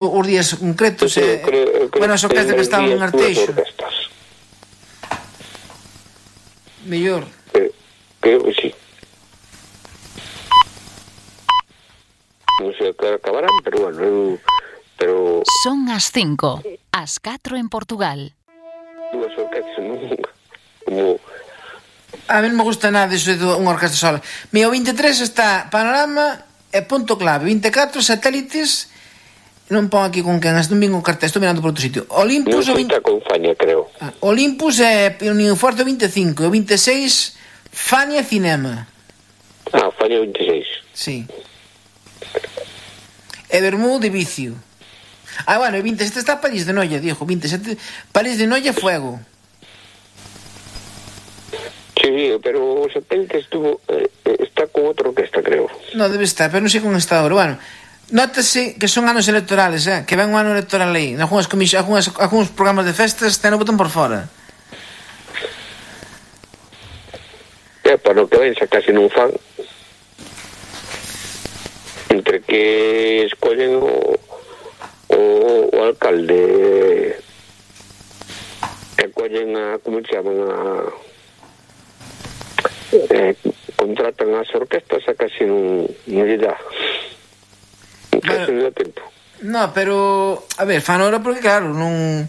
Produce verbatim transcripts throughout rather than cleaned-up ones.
os días concretos, Eu eh, creo- eu creo bueno, as orquestas que que estaban en dúas Arteixo, orquestas. mellor. Eh, Creo que sí. Non sei a que hora acabarán, pero bueno, eu, pero Son as cinco, as catro en Portugal. dúas orquestas non, como A mí non me gusta nada iso de unha orquesta sola. Mira, o vinte e tres está Panorama e Punto Clave, vinte e catro Satélites, non pon aquí con quen, non vin o cartel, estou mirando por outro sitio. non Olympus, o sei vinte... está con Faña, creo. ah, Olympus e Unión Forte o vinte e cinco, o vinte e seis Fania Cinema. Ah, Faña vinte e seis. Sí. E Bermú de Vicio. Ah, bueno, o vinte e sete está París de Noia, dijo, vinte e sete París de Noia Fuego. Sí, sí, pero o satélite estuvo eh, está con outra orquesta, creo. No, debe estar, pero non sei con esta hora. Bueno, nótase que son anos electorales, eh? Que ven un ano electoral aí. Algúns, comis... Algúns, algúns programas de festas ten o botón por fora. É, para o que ven, xa casi non fan. Entre que escollen o, o, o alcalde e collen a, como se chaman, a eh, contratan as orquestas, a casi non, non lle dá. Casi non dá tempo. No, pero, a ver, fan ahora porque, claro, non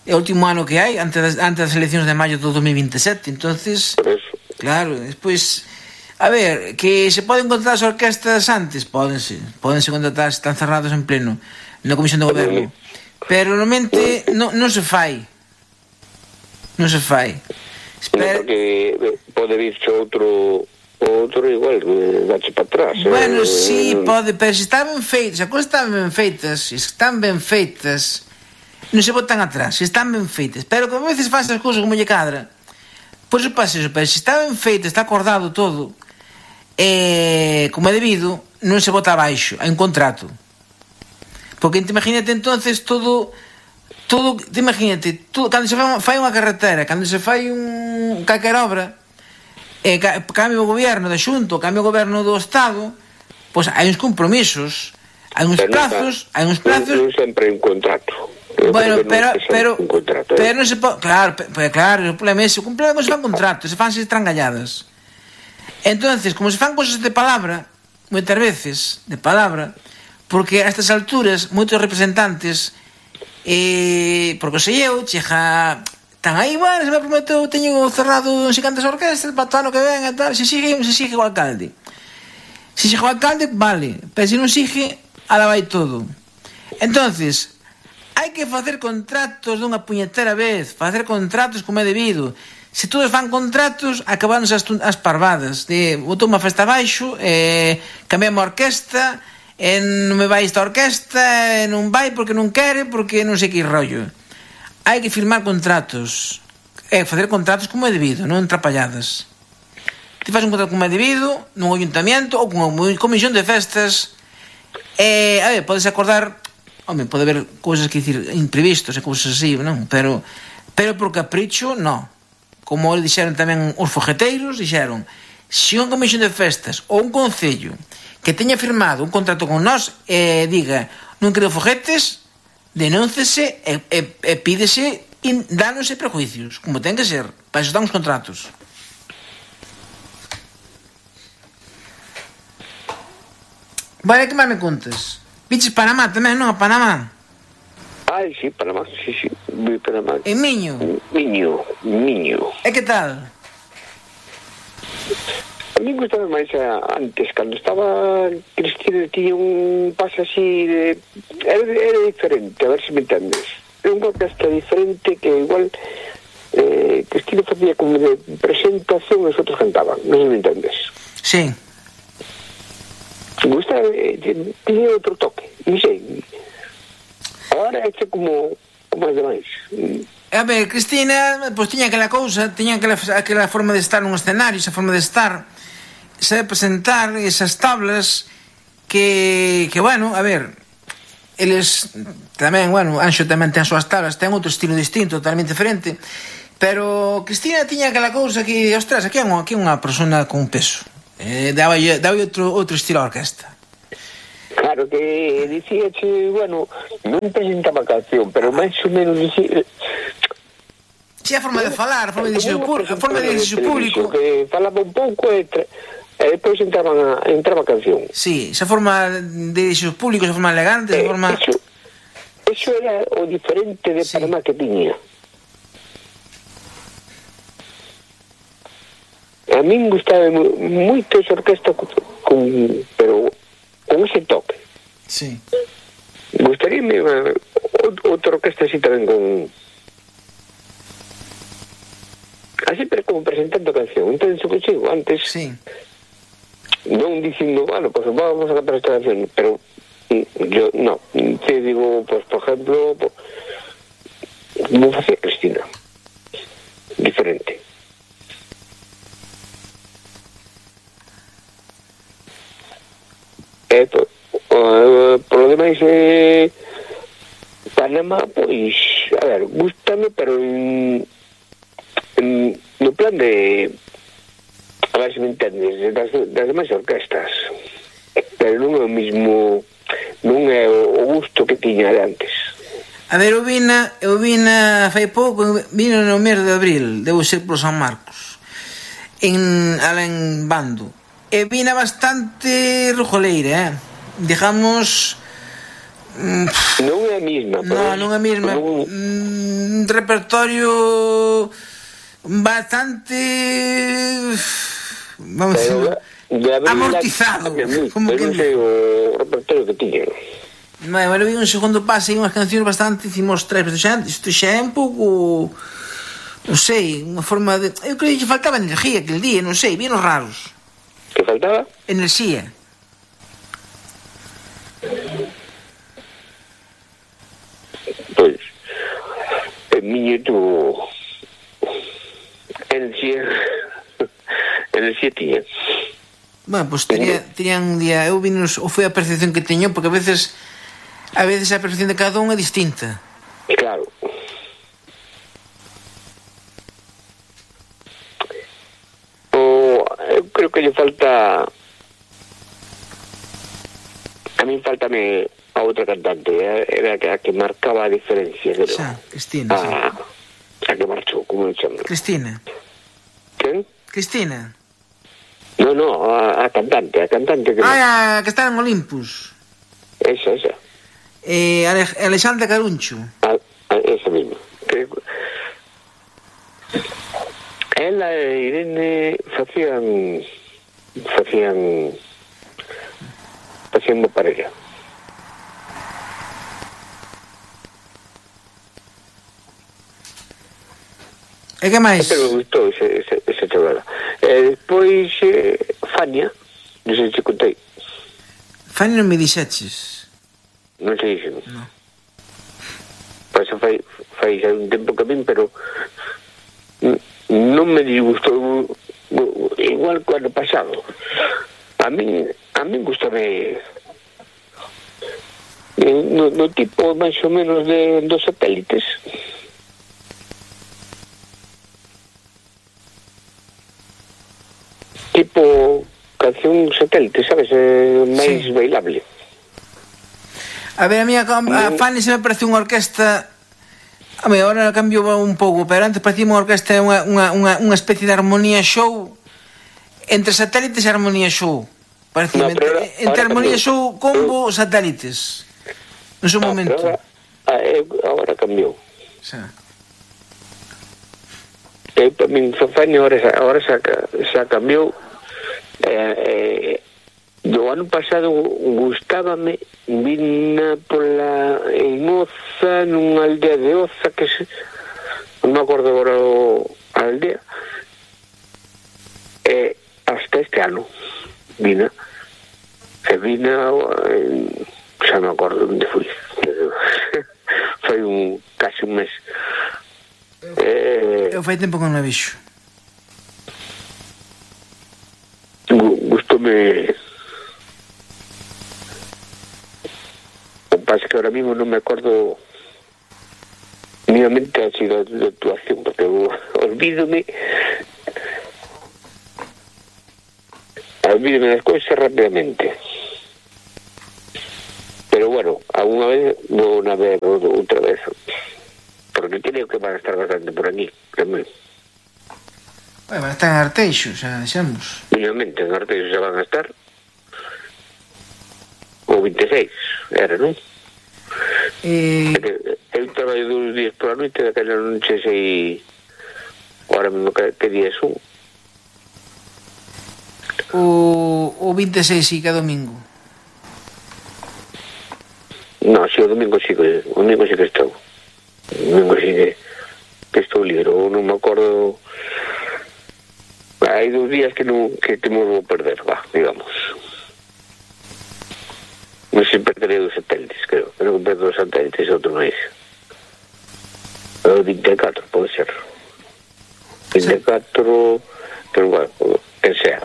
é o último ano que hai antes das, antes das eleccións de maio do dos mil vinte e sete, entonces, Por eso. claro, despois, a ver, que se poden contratar as orquestas antes, pódense, pódense contratar, están cerrados en pleno na Comisión de Goberno, pero normalmente non, non se fai, non se fai. No, Espera, porque eh, pode virse outro outro igual, eh, dache para atrás. bueno, eh, sí, pode, pero se están ben feitas, as cousas están ben feitas, se están ben feitas, non se botan atrás, se están ben feitas, pero que a veces faz as cousas como lle cadra, pois se pasa eso, pero se está ben feita, está acordado todo, eh, como é debido, non se bota abaixo, hai un contrato. Porque te imagínate entonces todo, todo, te imagínate, todo, cando se fai, fai unha carretera, cando se fai un calquer obra, eh, ca, cambio o goberno da Xunta, cambio o goberno do Estado, pois hai uns compromisos, hai uns pero plazos, nunca- hai uns non- plazos. Non sempre hai un contrato. Eu Bueno, creo que pero, nunca sempre pero, hai un contrato, eh. pero non se pode, claro, pe- pe- claro, o problema é ese, o problema é que se fan contratos, se fanse estrangalladas. Entonces, como se fan cosas de palabra, moitas veces, de palabra, porque a estas alturas, moitos representantes, eh, porque sei eu, chega, están aí, bueno, se me prometeu, teño cerrado non sei cantas orquestas, para o ano que ven e tal, se sigue, se sigue o alcalde. Se sigue o alcalde, vale, pero se non sigue, ala vai todo. Entonces, hai que facer contratos dunha puñetera vez, facer contratos como é debido. Se todos fan contratos, acabándose as, as parvadas de botou unha festa abaixo, eh, cambiamos a orquesta, e non me vai esta orquesta, e non vai porque non quere, porque non sei que rollo. Hai que firmar contratos, e facer contratos como é debido, non trapalladas. Ti faz un contrato como é debido, nun ayuntamiento ou con unha comisión de festas, e, a ver, podes acordar. Home, pode haber cousas que dicir imprevistos e cousas así, non? Pero, pero por capricho, non. Como dixeron tamén os fogueteiros, dixeron, se unha comisión de festas ou un concello que teña firmado un contrato con nós e eh, diga, non quero foguetes, denúncese e, e, e pídese in, danos e prejuicios, como ten que ser, para eso están os contratos. Vale, que máis me contas? Viches Panamá tamén, non? A Panamá. Ai, sí, Panamá, sí, sí, vi Panamá. En Miño. Miño, Miño. E que tal? A mí gustaba máis a, antes, cando estaba Cristina, tiña un pase así de... Era, era diferente, a ver se me entendes. Era unha orquesta diferente que igual eh, Cristina facía como de presentación e os outros cantaban, non sei se me entendes. Sí. Gustaba, eh, tiña outro toque, non sei. Agora é que como, como as demais. A ver, Cristina, pois tiña aquela cousa, tiña aquela, aquela forma de estar nun escenario, esa forma de estar, sabe presentar esas tablas que, que bueno, a ver, eles tamén, bueno, Anxo tamén ten as súas tablas, ten outro estilo distinto, totalmente diferente, pero Cristina tiña aquela cousa que, ostras, aquí é unha, aquí é unha persona con peso, eh, daba, daba outro, outro estilo á orquesta. Claro que dicía que, bueno, non presentaba canción, pero máis ou menos dicía... Si a forma de falar, a forma de dirigir a forma de dirigir o público, que falaba un pouco e, e depois entraban a, entraba a canción. Sí, esa forma de dirigir o público, esa forma elegante, esa eh, forma... Eso, eso era o diferente de sí. Panamá que tiña. A min gustaba moito esa orquesta con, con, pero con ese toque. Sí. Gustaríame uh, outra orquesta así tamén con... Así pero como presentando canción. Entonces o que chigo antes... Sí. Non dicindo, bueno, pues vamos a cantar esta canción, pero yo, no. Te digo, pues por ejemplo, pues, como facía Cristina. Diferente. Eh, pues, uh, por lo demais eh, Panamá, pois a ver, gústame, pero en, en, no plan de, a ver se me entendes, das, das demais orquestas, pero non é o mismo, non é o, o gusto que tiña de antes. A ver, eu vina, eu vina fai pouco, vina no mes de abril, debo ser por San Marcos, en alá en Bando. E vina bastante rojoleira, eh? Digamos... Mm, non é a mesma. Non, non é a mesma. Non... Un repertorio bastante... Vamos a decir... amortizado. Como que non sei o repertorio que tiña. Bueno, eu vi un segundo pase e unhas cancións bastante... Hicimos tres, pero xa, isto xa é un pouco... Non sei, unha forma de... Eu creo que faltaba energía aquel día, non sei, bien os raros. Que faltaba? Enerxía. Pois, en miño tu enerxía enerxía tiña. Bueno, pois pues, tería, terían un día... Eu vinos, ou foi a percepción que teño, porque a veces a veces a percepción de cada un é distinta. Claro. Eu creo que lle falta, a min faltame a outra cantante, era a que marcaba a diferencia, creo. Xa, Cristina, a, sí. A que marchou, como se chama? Cristina. Quen? Cristina. No, no, a, a cantante, a cantante que... Ah, a que está en Olympus. Esa, esa. Eh, Ale, Alexandra Caruncho. A, a, esa misma. Que... Ela e Irene facían facían facían unha parella. E que máis? Pero me gustou ese, ese, ese chavala. E despois eh, Fania, non sei se contei. Fania non me dixeches. Non sei se non. No. Pois fai, fai xa un tempo que a min, pero non me disgustou igual que o ano pasado. A min a min gustame no, no tipo máis ou menos de dos satélites. Tipo canción satélite, sabes? Eh, máis sí. Bailable. A ver, a mí a, a Fanny se me parece unha orquesta. A mí agora cambio un pouco, pero antes parecía unha orquesta unha, unha, unha, unha especie de armonía show entre satélites e armonía show. Parecía no, entre, entre armonía cambiou. Show combo satélites. No seu ah, momento. Agora, agora cambiou. Xa. E para min Fanny agora, agora xa, xa cambiou. Eh, eh, do ano pasado gustábame vina pola en Oza, nunha aldea de Oza que se, non me acordo agora o, a aldea, e hasta este ano vina e vina en, xa non me acordo onde fui foi un casi un mes. Eh, eu fai tempo que non a vixo. Gustoume. O que pasa que ahora mismo non me acordo minimamente así da, da actuación, porque eu olvídome olvídome das cousas rapidamente. alguna vez vou na ver outra vez, porque creo que van a estar bastante por aquí tamén. Bueno, van a estar en Arteixo, xa deixamos. Finalmente en Arteixo xa van a estar o vinte e seis, era, non? Eh... Eu traballo dos días por a noite, daquela non sei sei ahora mesmo que, que día son. O, o vinte e seis sí, que é domingo. No, si, o domingo sí que o domingo sí que estou. O domingo sí que, que estou libre, non me acordo. Hai dos días que non que temos vou perder, va, digamos. Non sei, perderei dos satélites, creo. Creo que perdo dos satélites e outro máis. O vinte e catro, pode ser. vinte e catro, pero bueno, que sea.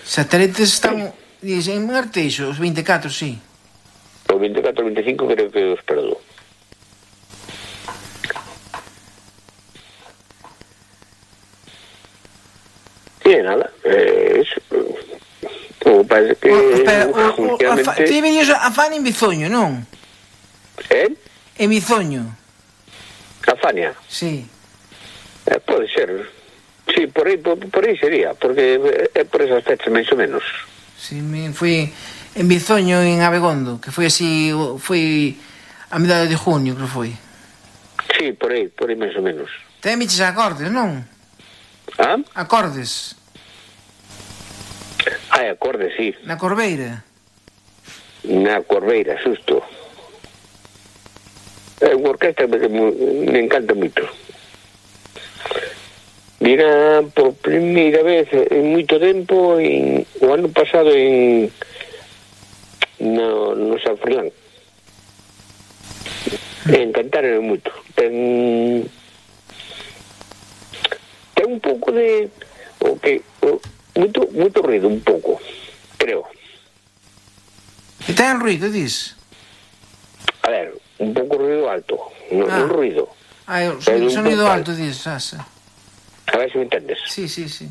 Satélites están, dicen, en Arteixo, os vinte e catro, sí. O vinte e catro e vinte e cinco creo que os perdo. E nada, eh, eso. O parece que... O, espera, o, o, últimamente... a, ti venías a Fania en Bizoño, non? Eh? En Bizoño. A Fania? Sí. Eh, pode ser. Sí, por aí, por, por aí sería, porque é por esas fechas, máis ou menos. Sí, me fui en Bizoño, en Abegondo, que foi así, foi a mediados de junio, creo que foi. Sí, por aí, por aí máis ou menos. Ten biches acordes, non? Ah? Acordes. Ah, acorde, sí. Na Corbeira. Na Corbeira, xusto. É unha orquesta que me encanta moito. Vira por primeira vez en moito tempo en, o ano pasado en no, no San Fernán. E encantaron moito. Ten ten un pouco de o que o, moito, moito ruido, un pouco, creo. E ten ruido, dis? A ver, un pouco ruido alto, non Ah. un ruido. Ah, o Pero sonido, un sonido pouco alto, dis, asa. A ver se me entendes. Sí, sí, sí.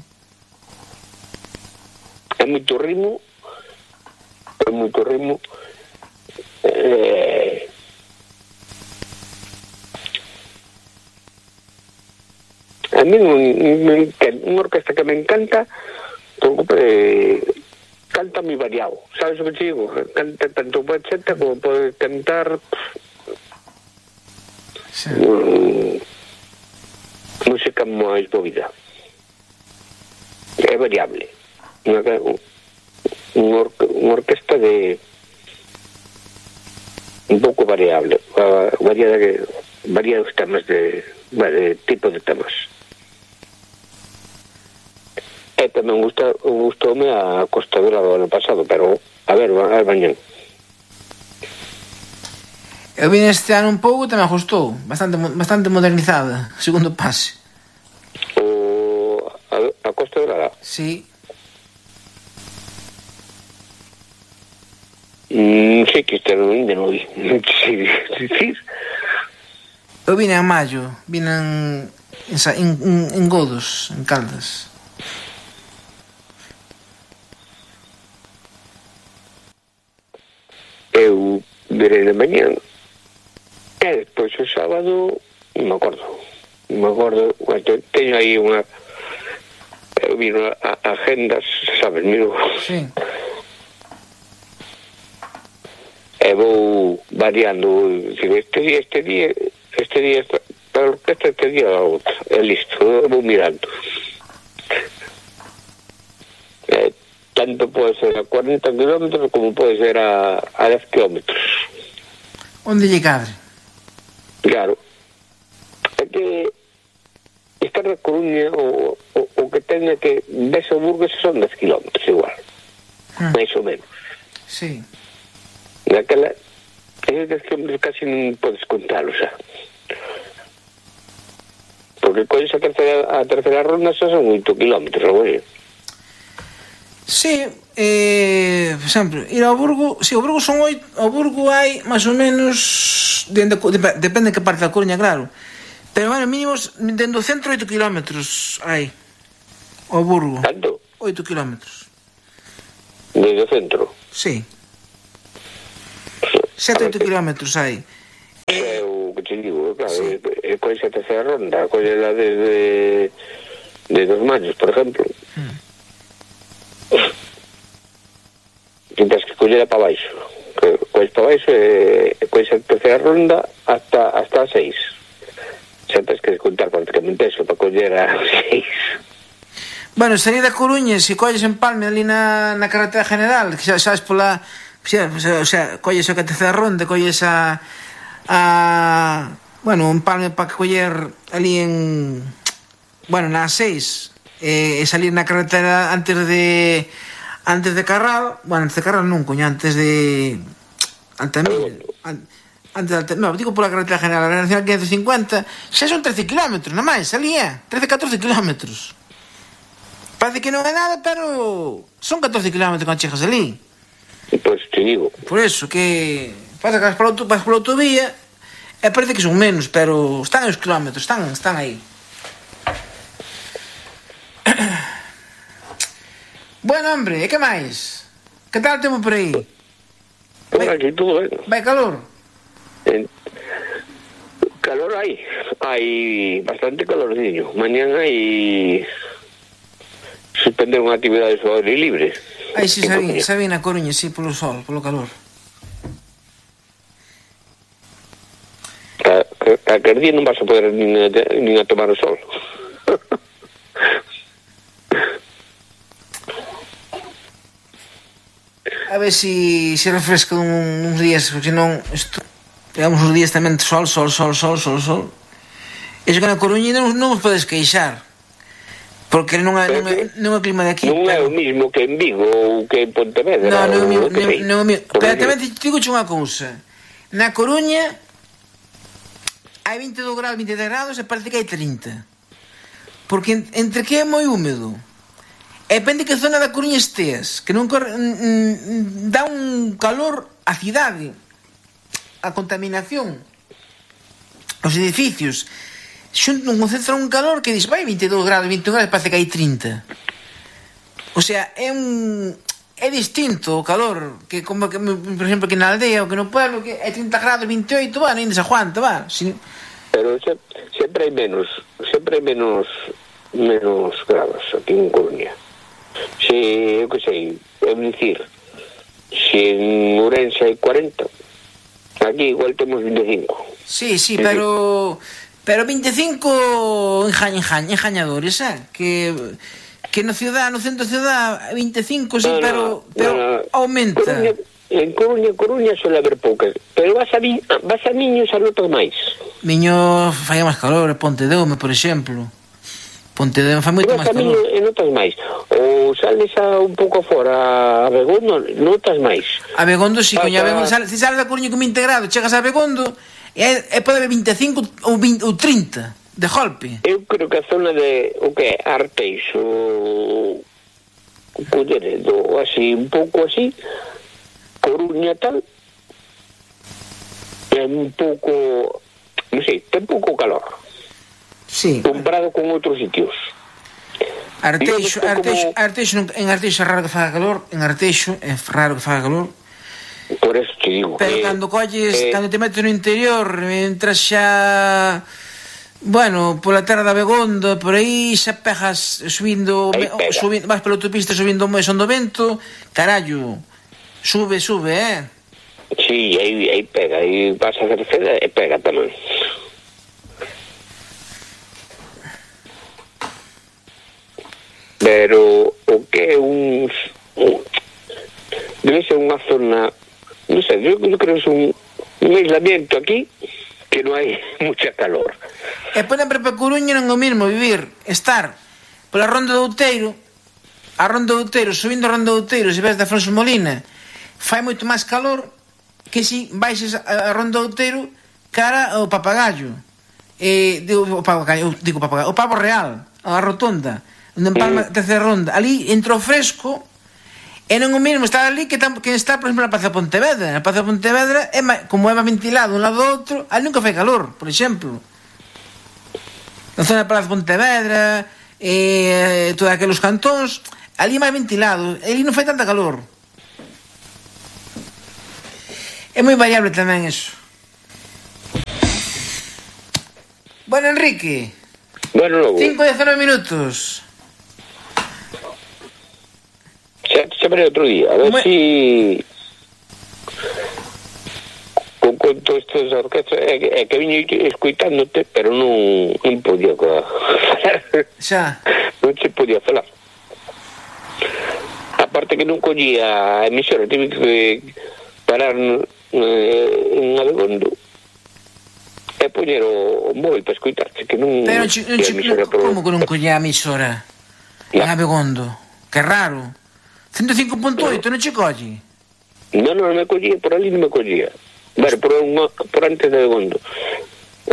É moito ritmo, é moito ritmo. Eh, a mí unha orquesta que me encanta, porque eh, canta moi variado, sabes o que te digo? Canta tanto bachata como pode cantar Sí. um, música máis movida. É variable. Unha, unha, orque, unha orquesta de un pouco variable, variada que varía os temas de, de tipo de temas. E tamén gusta, gustoume a Costadora do ano pasado, pero a ver, a ver mañan. Eu vine este ano un pouco, tamén gustou. Bastante, bastante modernizada, segundo pase. O, a, a Costa Dorada? Sí. Mm, sei que este ano ainda non vi. Sí, sí, sí. Eu vine en maio, vine en, en, en, en Godos, en Caldas. Eu virei de mañan e despois o sábado non me acordo non me acordo, teño aí unha eu vino a, a agendas, sabes, miro Sí. e vou variando, este día este día este día para a orquesta, este día a outra, e listo, vou mirando. E tanto pode ser a cuarenta kilómetros como pode ser a, a dez kilómetros. Onde lle cadre? Claro. É que estar na Coruña o, o, o que ten é que ves o Burgos son dez kilómetros igual. Hmm. Mais ou menos. Sí. Naquela esos dez kilómetros casi non podes contalo xa. Porque cois a terceira, a terceira ronda xa son oito kilómetros, güey. Sí, eh, por exemplo, ir ao Burgo, si, sí, o Burgo son oito, ao Burgo hai máis ou menos, dende, depende de que parte da Coruña, claro, pero, bueno, mínimos, dentro do centro oito kilómetros hai, ao Burgo. Tanto? oito kilómetros. Desde o centro? Sí. sete oito kilómetros hai. É o que te digo, claro, sí. É coa esa terceira ronda, coa la desde de dos maños, por exemplo. Hmm. Tens que coller para baixo. Cois para baixo e coa esa terceira ronda hasta hasta a seis. Xa tens que contar prácticamente eso para coller a seis. Bueno, salir da Coruña, se colles en Palme ali na, na carretera general, que xa sabes pola... Xa, o sea, colles a terceira ronda, colles a... a bueno, en Palme para coller ali en... Bueno, na seis, e eh, salir na carretera antes de... Antes de Carral, bueno, antes de Carral non, coño, antes de... Antes de... Antes de... No, digo pola carretera general, a Nacional quinhentos cincuenta, xa son trece kilómetros, nada máis, ali é, trece, catorce kilómetros. Parece que non é nada, pero son catorce kilómetros cando chegas ali. Pois te digo. Por eso, que pasa que vas pola, auto, vas pola autovía e parece que son menos, pero están os kilómetros, están, están aí. Bueno, hombre, e que máis? Que tal o tempo por aí? Por aquí todo, eh? Vai calor? En... Calor hai. Hai bastante calorciño. Mañán hai... suspender unha actividade ao aire libre. Ai, si, sabín, sabín na Coruña, si, polo sol, polo calor. A, a, a que día non vas a poder nin a, nin a tomar o sol. A ver si se refresca un, uns días, porque senón isto, pegamos uns días tamén sol, sol, sol, sol, sol, sol. Iso que na Coruña non, non os podes queixar. Porque non é, non, é, non é o clima de aquí. Non é o mismo que en Vigo ou que en Pontevedra. Non, non é o mismo. Non, non, pero tamén te digo unha cousa. Na Coruña hai vinte e dous graus, vinte e tres graus e parece que hai trinta. Porque entre que é moi húmedo. E depende que zona da Coruña esteas. Que non corre, mm, dá un calor a cidade. A contaminación. Os edificios. Xunto non concentra un calor que dice vai vinte e dous graus, vinte e un graus, parece que hai trinta. O sea, é un é distinto o calor que como que por exemplo que na aldea ou que no pueblo que é trinta graus, vinte e oito, va, nem se aguanta, va. Sin... Pero se, sempre hai menos, sempre hai menos menos grados aquí en Coruña. Se, eu que sei, é dicir, se en Ourense hai cuarenta, aquí igual temos vinte e cinco. Sí, sí, pero pero vinte e cinco enjañ, enjañ, enjañadores, eh? Que que no ciudad, no centro da ciudad vinte e cinco, sí, no, pero no, pero no, no. Aumenta. Coruña, en Coruña, Coruña suele haber poucas, pero vas a vi, vas a Miños a notas máis. Miños fai máis calor, Pontedeume, por exemplo. Pontedeume fai moito máis calor. E notas máis. Ou sales a un pouco fora a Begondo, notas máis. A Begondo, si, sí, coña, a Begondo, sales, si sales da Coruña con vinte grados, chegas a Begondo e, e pode haber vinte e cinco ou, vinte, ou trinta de golpe. Eu creo que a zona de o que é Arteixo, Culleredo, así, un pouco así, Coruña tal, é un pouco, non sei, ten pouco calor. Sí. Comparado con outros sitios. Arteixo, Arteixo, como... Arteixo, en Arteixo é raro que faga calor, en Arteixo é raro que faga calor. Por eso te digo. Pero eh, cando colles, eh, cando te metes no interior, entras xa, bueno, pola terra da Begondo, por aí xa pegas subindo, pega. subindo, vas pola autopista subindo o son do vento, carallo, sube, sube, eh? Sí, aí, aí pega, aí vas a Cerceda e pega tamén. Pero o que é un, un debe ser unha zona, non sei, eu, eu creo que é un, un aislamiento aquí que non hai mucha calor. E por exemplo, para Coruña non é o mismo vivir, estar pola Ronda do Outeiro, a Ronda do Outeiro, subindo a Ronda do Outeiro, se ves de Afonso Molina, fai moito máis calor que se baixes a Ronda do Outeiro cara ao Papagayo. Eh, digo, o Papagayo, digo Papagayo, o Pavo Real, a Rotonda, onde en Palma, terceira ronda, ali entrou fresco e non o mesmo estar ali que, tam, que está, por exemplo, na Praza de Pontevedra. Na Praza de Pontevedra, é ma, como é máis ventilado un lado do outro, ali nunca fai calor, por exemplo. Na zona da Praza de Pontevedra, e todos aqueles cantóns, ali é máis ventilado, ali non fai tanta calor. É moi variable tamén eso. Bueno, Enrique. Bueno, logo. cinco e dezanove minutos. Xa te chamaré outro día, a ver Moi... si... Con conto estes orquestas, é que, é que viño escoitándote, pero non, non podía falar. Xa. Non se podía falar. Aparte que non collía a emisora, tive que parar eh, en Abegondo e poñer o, o móvil para escoitarte, que non... Pero chi, que chi, no, por... como que non collía a emisora en Abegondo? Que raro. ciento cinco punto oito non che colle? Non, non me collía, por ali non me collía. Bueno, por, unha, por antes de Abegondo.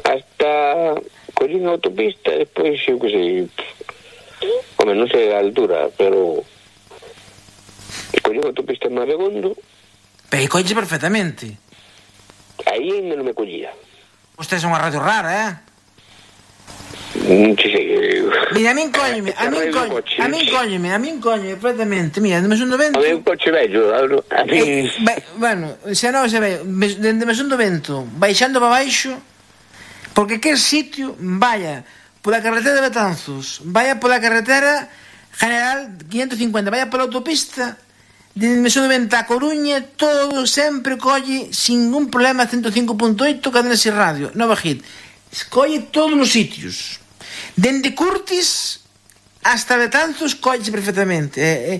Hasta collín a autopista e despois, eu que sei... Home, non sei a altura, pero... Collín a autopista en Abegondo. Pero colle perfectamente. Aí non me collía. Usted é unha radio rara, eh? Non sei. Mira, a min cólleme, a min cólleme, a min cólleme, a min cólleme perfectamente. Mira, dende Mesón do Vento... A min coche vello, a min... Eh, vai, bueno, xa non se ve, dende Mesón do Vento, baixando para baixo, porque que sitio vaya pola carretera de Betanzos, vaya pola carretera General quinientos cincuenta, vaya pola autopista, dende Mesón do Vento a Coruña, todo sempre colle sin ningún problema ciento cinco punto oito Cadena Ser Radio, Nova Hit. Colle todos os sitios. Dende Curtis hasta Betanzos colle perfectamente. Eh, eh,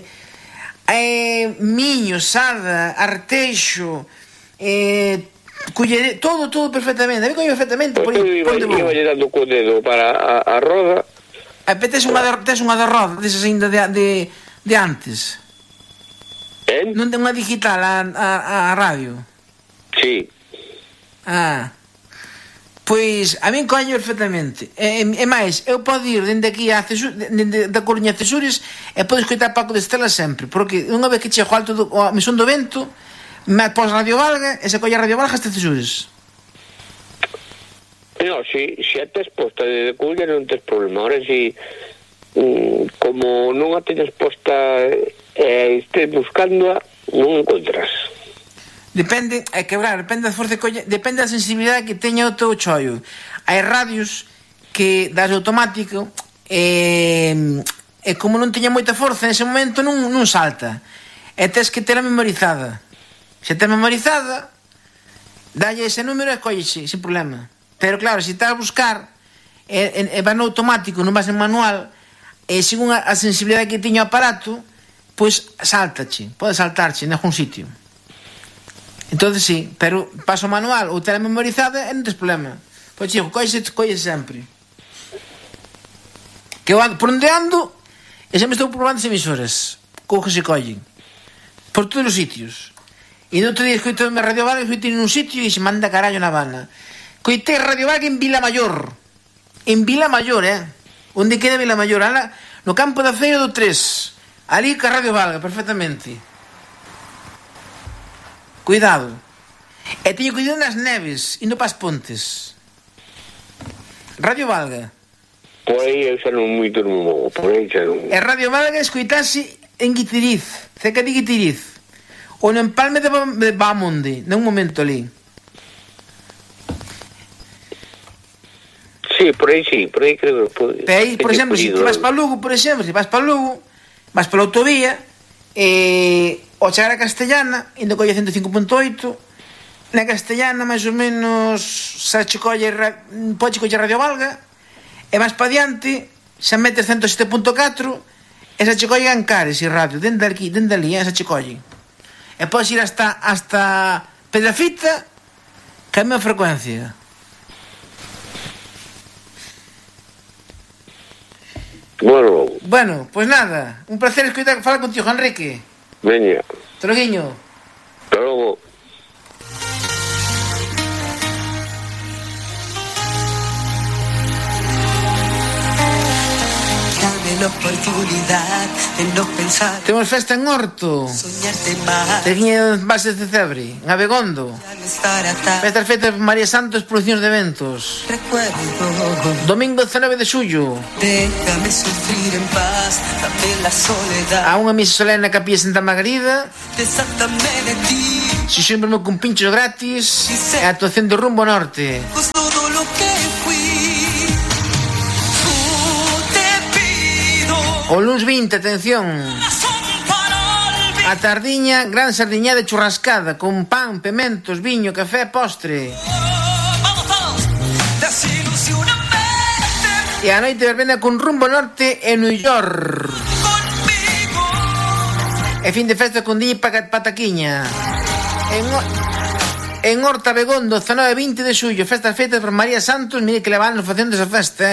eh, Miño, Sada, Arteixo, eh, Cullere, todo, todo perfectamente. A mí colle perfectamente. Pues eu iba, iba dando co dedo para a, a roda. A tes unha de, tes unha de roda, desas ainda de, de, de antes. Eh? Non ten unha digital a, a, a radio? Sí. Ah... Pois a min coño perfectamente. E, e máis, eu podo ir dende aquí a Cesur, dende da Coruña a Cesures e podo escoitar Paco de Estela sempre, porque unha vez que chego alto do ao Mesón do Vento, me pos Radio Valga e se colle Radio Valga hasta Cesures. No, si, si a tes posta de Coruña non tes problema. Ahora si mm, como non a teñas posta e eh, estés buscándoa, non encontras. Depende, é que claro, depende da forza que colle, depende da sensibilidade que teña o teu chollo. Hai radios que das automático e, e como non teña moita forza en ese momento non, non salta. E tes que tela memorizada. Se tes memorizada, dalle ese número e collese sin problema. Pero claro, se estás a buscar e, e, e vas no automático, non vas en manual, e según a, a sensibilidade que teña o aparato, pois saltache, pode saltarche en algún sitio. Entonces sí, pero paso manual ou tela memorizada e non tes problema. Pois chico, colle, colle sempre. Que eu ando, por onde ando, e sempre estou probando as emisoras. Coge se collen. Por todos os sitios. E no outro día escoito a Radio Valga, escoito en un sitio e se manda carallo na vana. Coitei Radio Valga en Vila Mayor. En Vila Mayor, eh? Onde queda Vila Mayor? Ala, no campo da Feira do tres. Ali ca Radio Valga, perfectamente. Cuidado. E teño cuidado nas neves, indo pas pontes. Radio Valga. Por aí eu xa non moito non movo, por aí xa non... E Radio Valga escoitase en Guitiriz, cerca de Guitiriz. Ou no empalme de, de Bamonde, nun momento ali. Sí, por aí sí, por aí creo que... Por, aí, por exemplo, se si vas para Lugo, por exemplo, se vas para Lugo, vas pola autovía, e... ao chegar a Castellana, indo colle ciento cinco punto oito, na Castellana, máis ou menos, xa che colle, pode colle Radio Valga, e vas pa diante, xa metes ciento sete punto catro, e xa che colle Ancares e radio, dende aquí, dende ali, xa che colle. E podes ir hasta, hasta Pedrafita, que é a mesma frecuencia. Bueno, bueno, pois pues nada, un placer escoitar, falar contigo, Enrique. Veña. Troguiño. Hasta logo. Camino oportunidad de no pensar. Temos festa en Horto. Soñarte más. Teñía bases de Cebre, en Abegondo. Festas feitas por María Santos, producións de eventos. Recuerdo. Domingo dezanove de xullo. Déjame sufrir en paz, dame la soledad. A unha misa solene na Capilla Santa Margarida. Desátame de ti. Si sempre con pinchos gratis. E a actuación de Rumbo Norte. Pues todo lo que fui. Tú te pido. O luns vinte, atención. A tardiña, gran sardiña de churrascada con pan, pementos, viño, café, postre. E a noite verbena con Rumbo Norte en New York. E fin de festa con Diña e Pataquiña. En, en Horta Begondo, dezanove e vinte de xullo, festas feitas por María Santos. Mire que le van facendo esa festa, eh.